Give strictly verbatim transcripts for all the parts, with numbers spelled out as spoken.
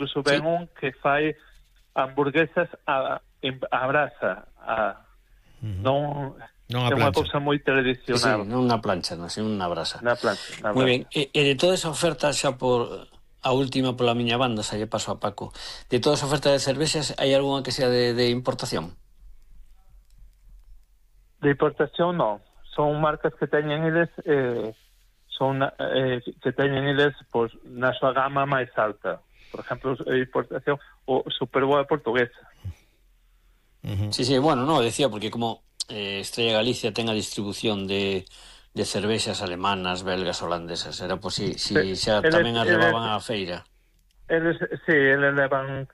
incluso ven sí. un que fai hamburguesas a, a brasa, a, Uh-huh. non, non a é unha plancha. cousa moi Sí, sí, tradicional. non unha plancha, non, sino unha brasa. Na plancha, na Moi ben, brasa. e, e de toda esa oferta, xa por a última pola miña banda, xa lle paso a Paco, de toda esa oferta de cervexas, hai algunha que sea de, de importación? De importación non, son marcas que teñen eles eh, son eh, que teñen eles pues, na súa gama máis alta. Por exemplo, a importación o Superboa portuguesa. Uh-huh. Sí, sí, bueno, no, decía porque como eh, Estrella Galicia ten a distribución de, de cervexas alemanas, belgas, holandesas, era por si, si xa eles, tamén as levaban eles, á feira. Eles, sí, eles levan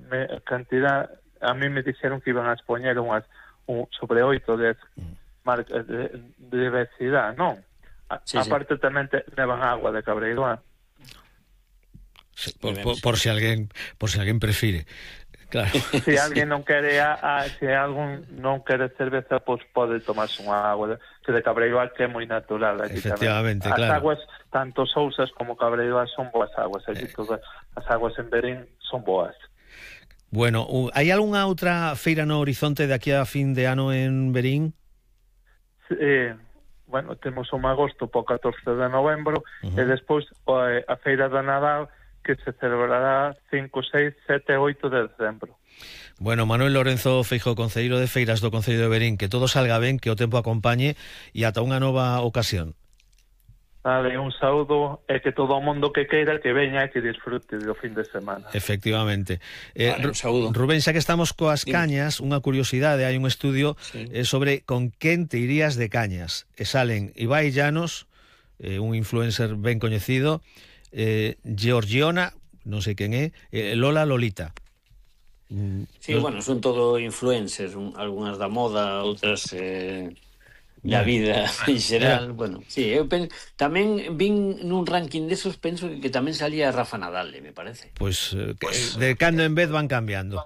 me, cantidad, a mí me dixeron que iban a expoñer unhas un, sobre oito de marcas de, de diversidade, non? A, Sí, aparte sí. Tamén te, levan agua de Cabreiroa. Sí, por, por, por si alguén por si alguén prefire. Claro. Se alguén non quere a, a, se algún non quere cerveza, pois pues pode tomarse unha agua de, que de Cabreiroa, que é moi natural. Efectivamente, as claro. As aguas, tanto Sousas como Cabreiroa, son boas aguas. Aquí eh. todas as aguas en Verín son boas. Bueno, hai algunha outra feira no horizonte de aquí a fin de ano en Verín? Eh, bueno, temos un agosto po catorce de novembro, uh-huh. E despois a feira da Nadal, que se celebrará cinco, seis, sete, oito de decembro. Bueno, Manuel Lorenzo Feijóo, concelleiro de Feiras do Concello de Verín, que todo salga ben, que o tempo acompañe e ata unha nova ocasión. Vale, un saúdo e que todo o mundo que queira que veña e que disfrute do fin de semana. Efectivamente. Eh, vale, un saúdo. Rubén, xa que estamos coas cañas, unha curiosidade, hai un estudio sí. eh, sobre con quen te irías de cañas. E salen Ibai Llanos, eh, un influencer ben coñecido, eh, Georgiona, non sei quen é, eh, Lola Lolita. Sí, Los... bueno, son todo influencers, un, algunhas da moda, outras eh, da vida en xeral. Bueno, sí, eu penso, tamén vin nun ranking desos, penso que, que tamén salía Rafa Nadal, me parece. Pois pues, eh, pues, de cando en vez van cambiando.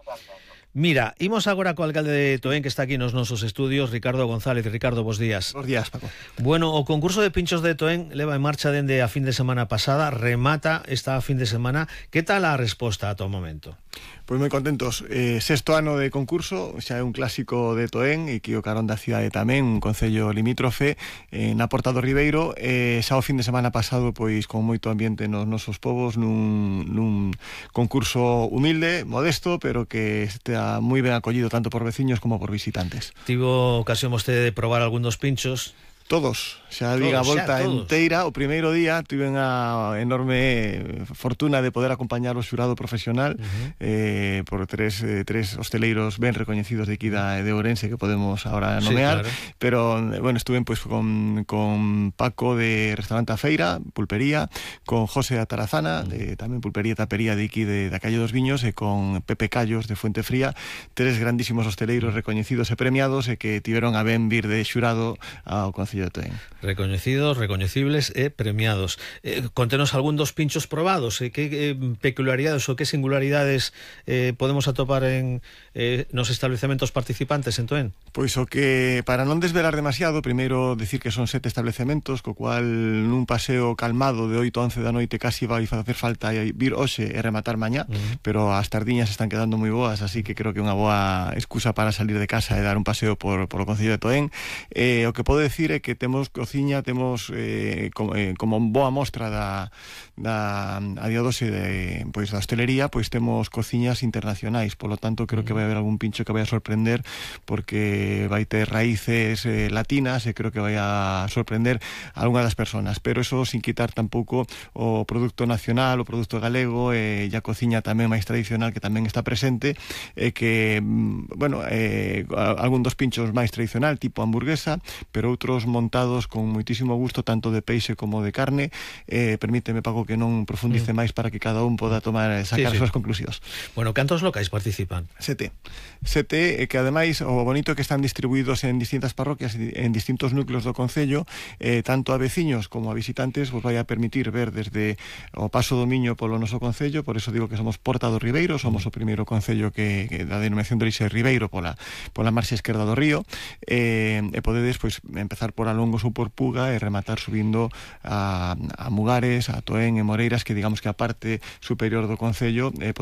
Mira, imos agora co alcalde de Toén, que está aquí nos nosos estudios, Ricardo González. Ricardo, bos días. Bos días, Paco. Bueno, o concurso de pinchos de Toén leva en marcha dende a fin de semana pasada, remata esta fin de semana. Que tal a resposta ata o momento? Pois moi contentos. Eh, sexto ano de concurso, xa é un clásico de Toén e que o carón da cidade tamén, un concello limítrofe eh, na Porta do Ribeiro. Eh, xa o fin de semana pasado, pois con moito ambiente nos nosos povos, nun, nun concurso humilde, modesto, pero que está moi ben acollido tanto por veciños como por visitantes. Tivo ocasión vostede de probar algún dos pinchos? Todos, xa diga a volta enteira. O primeiro día tuven a enorme fortuna de poder acompañar o xurado profesional uh-huh. eh, por tres, eh, tres hosteleiros ben recoñecidos de aquí da, de Ourense que podemos ahora nomear, sí, claro. Pero bueno, estuve pues, con, con Paco de Restaurante A Feira, pulpería, con José Atarazana, uh-huh. de, tamén pulpería e tapería de aquí de, da Calle dos Viños, e con Pepe Callos de Fuente Fría, tres grandísimos hosteleiros uh-huh. recoñecidos e premiados e que tiveron a ben vir de xurado ao Concello de Toén. Recoñecidos, recoñecibles e premiados. Eh, contenos algún dos pinchos probados, eh, que eh, peculiaridades ou que singularidades eh, podemos atopar en eh, nos establecementos participantes en Toén? Pois o que, para non desvelar demasiado, primeiro decir que son sete establecementos, co cual nun paseo calmado de oito a once da noite casi vai facer falta vir hoxe e rematar mañá, uh-huh. pero as tardiñas están quedando moi boas, así que creo que é unha boa excusa para salir de casa e dar un paseo por, por o Concello de Toén. Eh, o que podo decir é que temos cociña, temos eh, como, eh, como boa mostra da, da a día doce de, pois, da hostelería, pois temos cociñas internacionais, polo tanto creo que vai haber algún pincho que vai a sorprender, porque vai ter raíces eh, latinas e creo que vai a sorprender a algunha das personas, pero eso sin quitar tampouco o produto nacional, o produto galego e a cociña tamén máis tradicional que tamén está presente, e que, bueno, eh, algún dos pinchos máis tradicional, tipo hamburguesa, pero outros montados con moitísimo gusto, tanto de peixe como de carne. Eh, permíteme, Paco, que non profundice mm. máis para que cada un poda tomar e sacar sí, sí. as súas conclusións. Bueno, cantos locais participan? Sete. Sete, eh, que ademais o bonito é que están distribuídos en distintas parroquias, en distintos núcleos do Concello, eh, tanto a veciños como a visitantes vos vai a permitir ver desde o Paso do Miño polo noso Concello, por eso digo que somos Porta do Ribeiro, somos mm. o primeiro Concello que, que da denominación de orixe Ribeiro pola, pola marxa esquerda do río, eh, e podedes pois empezar por por Alongos ou por Puga e rematar subindo a, a Mugares, a Toén e Moreiras, que digamos que a parte superior do concello eh, pode